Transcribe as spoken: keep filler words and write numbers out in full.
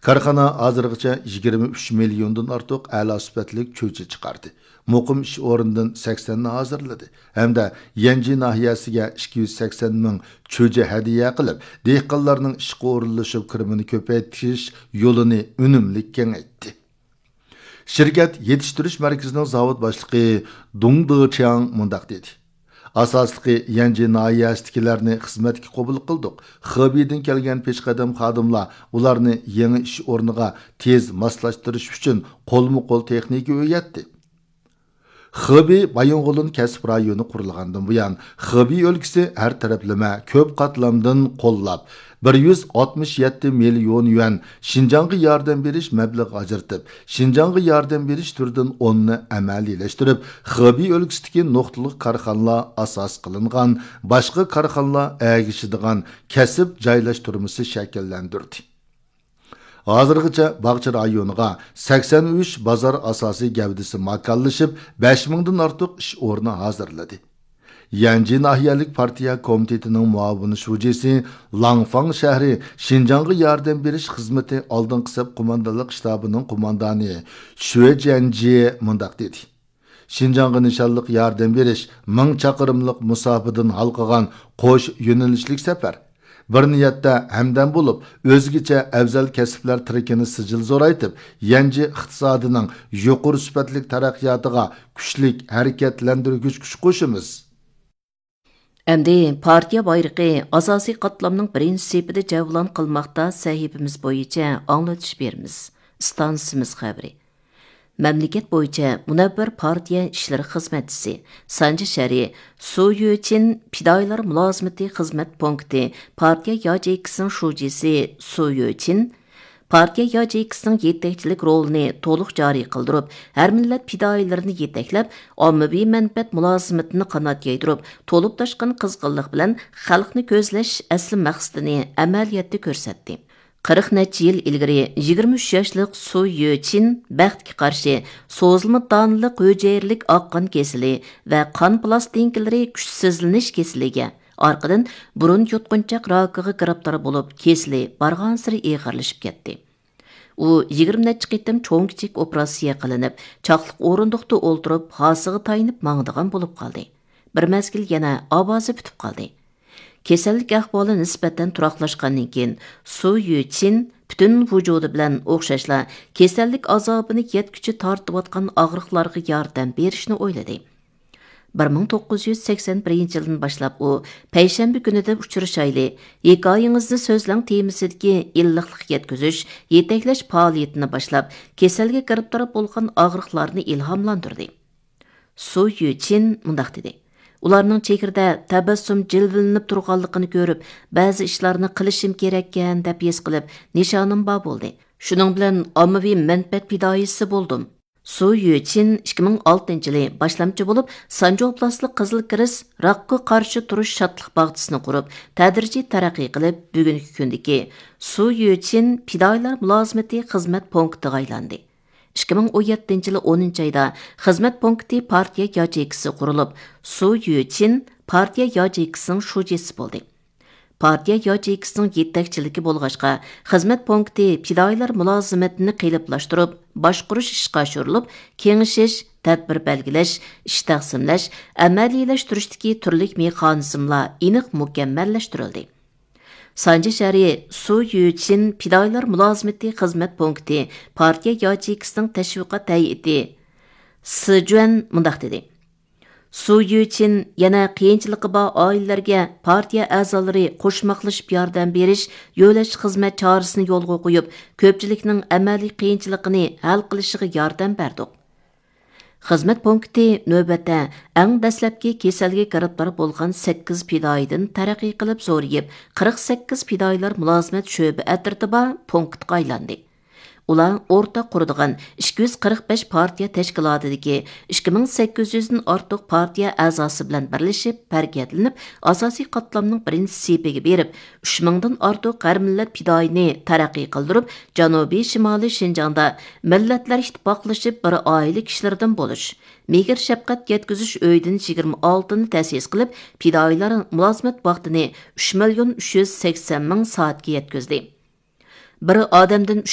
كارخانا ھازىرغىچە يىگىرمە ئۈچ مىليوندىن ئارتۇق ئەلا سۈپەتلىك چۆچە چىقاردى، مۇقىم ئىش ئورنىدىن سەكسەننى ھازىرلىدى ھەمدە يەنجى ناھىيەسىگە ئىككى يۈز سەكسەن مىڭ چۆچە ھەدىيە قىلىپ، دېھقانلارنىڭ ئىشقا ئورۇنلىشىپ كىرىمىنى كۆپەيتىش يولىنى ئۈنۈملۈك كېڭەيتتى. شىركەت يېتىشتۈرۈش مەركىزىنىڭ زاۋۇت باشلىقى دۇڭ دېچياڭ مۇنداق دېدى: ئاساسلىقى يەنجى ناھىيەسىدىكىلەرنى خىزمەتكە قوبۇل قىلدۇق. خېبېيدىن كەلگەن پېشقەدەم خادىملار ئۇلارنى يېڭى ئىش ئورنىغا تېز ماسلاشتۇرۇش ئۈچۈن قولمۇ قول تېخنىكا ئۆگەتتى. خېبېي بايىنغولىن كەسىپ رايونى قۇرۇلغاندىن بۇيان، خېبېي ئۆلكىسى ھەر تەرەپلىمە كۆپ قاتلامدىن قوللاپ، بىر يۈز ئاتمىش يەتتە مىليون يۈەن شىنجاڭغا ياردەم بېرىش مەبلىغى ئاجرىتىپ، شىنجاڭغا ياردەم بېرىش تۈرىدىن ئوننى ئەمەلىيلەشتۈرۈپ، خېبېي ئۆلكىسىدىكى نۇقتىلىق كارخانىلار ئاساس قىلىنغان، باشقا كارخانىلار ئەگىشىدىغان كەسىپ جايلاشتۇرمىسى شەكىللەندۈردى. ھازىرغىچە باغچە رايونىغا سەكسەن ئۈچ بازار ئاساسىي گەۋدىسى ماكانلىشىپ، بەش مىڭدىن ئارتۇق ئىش ئورنى ھازىرلىدى. يەنجى ناھىيەلىك پارتىيە كومىتېتىنىڭ مۇئاۋىن شۇجىسى، لانفاڭ شەھىرى شىنجاڭغا ياردەم بېرىش خىزمىتى ئالدىنقى سەپ قوماندانلىق شتابىنىڭ قوماندانى شۈې جيەنجى مۇنداق دېدى: شىنجاڭغا نىشانلىق ياردەم بېرىش مىڭ چاقىرىملىق مۇساپىدىن ھالقىغان قوش يۆنىلىشلىك سەپەر. بىر نىيەتتە ھەمدەم بولۇپ، ئۆزگىچە ئەۋزەل كەسىپلەر تىرىكىنى سىجىل زورايتىپ، يەنجى ئىقتىسادىنىڭ يۇقىرى سۈپەتلىك تەرەققىياتىغا كۈچلۈك ھەرىكەتلەندۈرگۈچ كۈچ قوشىمىز. ئەمدى پارتىيە بايرىقى ئاساسىي قاتلامنىڭ بىرىنچى سېپىدە جەۋلان قىلماقتا سەھىپىمىز بويىچە ئاڭلىتىش بېرىمىز. ئىستانسىمىز خەۋىرى. مەملىكەت بويىچە مۇنەۋۋەر پارتىيە ئىشلىرى خىزمەتچىسى، سانجى شەرى، سۇ يۆچىن پىدائىيلار مۇلازىمىتى خىزمەت پونكىتى پارتىيە ياچېيكىسىنىڭ شۇجىسى سۇ يۆچىن پارتىيە ياچېيكىسىنىڭ يېتەكچىلىك رولىنى تولۇق جارى قىلدۇرۇپ، ھەر مىللەت پىدائىيلىرىنى يېتەكلەپ، ئاممىۋى مەنپەئەت مۇلازىمىتىنى قانات يايدۇرۇپ، تولۇپ تاشقان قىزغىنلىق بىلەن خەلقنى كۆزلەش ئەسلى مەقسىتىنى ئەمەلىيەتتە كۆرسەتتى. قىرىق نەچچە يىل ئىلگىرى يىگىرمە ئۈچ ياشلىق سۇ يۆچىن بەختكە قارشى سوزۇلما دانلىق ھۈجەيرىلىك ئاق قان كېسىلى ۋە قان پىلاستىنكىلىرى كۈچسىزلىنىش كېسىلىگە، ئارقىدىن بۇرۇن يۇتقۇنچاق راكىغا گىرىپتار بولۇپ، كېسىلى بارغانسېرى ئېغىرلىشىپ كەتتى. ئۇ يىگىرمە نەچچە قېتىم چوڭ-كىچىك ئوپېراتسىيە قىلىنىپ، چاقلىق ئورۇندۇقتا ئولتۇرۇپ، ھاسىغا تايىنىپ ماڭىدىغان بولۇپ قالدى. بىر مەزگىل يەنە ئاۋازى پۈتۈپ قالدى. كېسەللىك ئەھۋالى نىسبەتەن تۇراقلاشقاندىن كېيىن، سۇ يۈچىن پۈتۈن ۋۇجۇدى بىلەن ئوخشاشلا كېسەللىك ئازابىنى يەتكۈچە تارتىۋاتقان ئاغرىقلارغا ياردەم بېرىشنى ئويلىدى. بىر مىڭ توققۇز يۈز سەكسەن بىرىنچى يىلدىن باشلاپ ئۇ پەيشەنبە كۈنىدە ئۇچرىشايلى، ھېكايىڭىزنى سۆزلەڭ تېمىسىدىكى ئىللىقلىق يەتكۈزۈش، يېتەكلەش پائالىيىتىنى باشلاپ، كېسەلگە گىرىپتار بولغان ئاغرىقلارنى ئىلھاملاندۇردى. سۇ يۈچىن مۇنداق دېدى: ئۇلارنىڭ چېھرىدە تەبەسسۇم جىلۋىلىنىپ تۇرغانلىقىنى كۆرۈپ، بەزى ئىشلارنى قىلىشىم كېرەككەن دەپ ھېس قىلىپ، نىشانىم بار بولدى. شۇنىڭ بىلەن ئاممىۋى مەنپەئەت پىدائىيسى بولدۇم. سۇ يۈچىن ئىككى مىڭ ئالتىنچى يىلى باشلامچى بولۇپ، سانجى ئوبلاستلىق قىزىل كىرېست راكقا قارشى تۇرۇش شادلىق باغچىسىنى قۇرۇپ، تەدرىجىي تەرەققىي قىلىپ، بۈگۈنكى كۈندىكى سۇ يۈچىن پىدائىيلار مۇلازىمىتى خىزمەت پونكىتىغا ئايلاندى. ئىككى مىڭ ئون يەتتىنچى يىلى ئونىنچى ئايدا خىزمەت پونكىتى پارتىيە ياچېيكىسى قۇرۇلۇپ، سۇ يۈچىن پارتىيە ياچېيكىسىنىڭ شۇجىسى بولدى. پارتىيە ياچېيكىسىنىڭ يېتەكچىلىكى بولغاچقا، خىزمەت پونكىتى پىدائىيلار مۇلازىمىتىنى قېلىپلاشتۇرۇپ، باشقۇرۇش ئىشقا ئاشۇرۇلۇپ، كېڭىشىش، تەدبىر بەلگىلەش، ئىش تەقسىملەش، ئەمەلىيلەشتۈرۈشتىكى تۈرلۈك مېخانىزملار ئېنىق مۇكەممەللەشتۈرۈلدى. سانجى شەھىرى سۇ يۈچىن پىدائىيلار مۇلازىمىتى خىزمەت پونكىتى پارتىيە ياچېيكىسىنىڭ تەشۋىقات ھەيئىتى سىجۈەن مۇنداق دېدى: سۇ يۈچىن يەنە قىيىنچىلىقى بار ئائىلىلەرگە پارتىيە ئەزالىرى قوشماقلىشىپ ياردەم بېرىش، يۆلەش خىزمەت چارىسىنى يولغا قويۇپ، كۆپچىلىكنىڭ ئەمەلىي قىيىنچىلىقىنى ھەل قىلىشىغا ياردەم بەردۇق. خىزمەت پونكىتى نۆۋەتتە ئەڭ دەسلەپكى كېسەلگە گىرىپتار بولغان سەككىز پىدائىيدىن تەرەققىي قىلىپ زورىيىپ، قىرىق سەككىز پىدائىيلار مۇلازىمەت شۆبە ئەترىتى بار پونكىتقا ئايلاندى. ئۇلار ئورتاق قۇرىدىغان ئىككى يۈز قىرىق بەش پارتىيە تەشكىلاتىدىكى ئىككى مىڭ سەككىز يۈزدىن ئارتۇق پارتىيە ئەزاسى بىلەن بىرلىشىپ ھەرىكەتلىنىپ، ئاساسىي قاتلامنىڭ بىرىنچى سېپىگە بېرىپ، ئۈچ مىڭدىن ئارتۇق ھەر مىللەت پىدائىينى تەرەققىي قىلدۇرۇپ، جەنۇبىي شىمالىي شىنجاڭدا مىللەتلەر ئىتتىپاقلىشىپ بىر ئائىلە كىشىلىرىدىن بولۇش، مېھىر شەپقەت يەتكۈزۈش ئۆيىدىن يىگىرمە ئالتىنى تەسىس قىلىپ، پىدائىيلار مۇلازىمەت ۋاقتىنى ئۈچ مىليون ئۈچ يۈز سەكسەن مىڭ سائەتكە يەتكۈزدى. بىر ئادەمدىن ئۈچ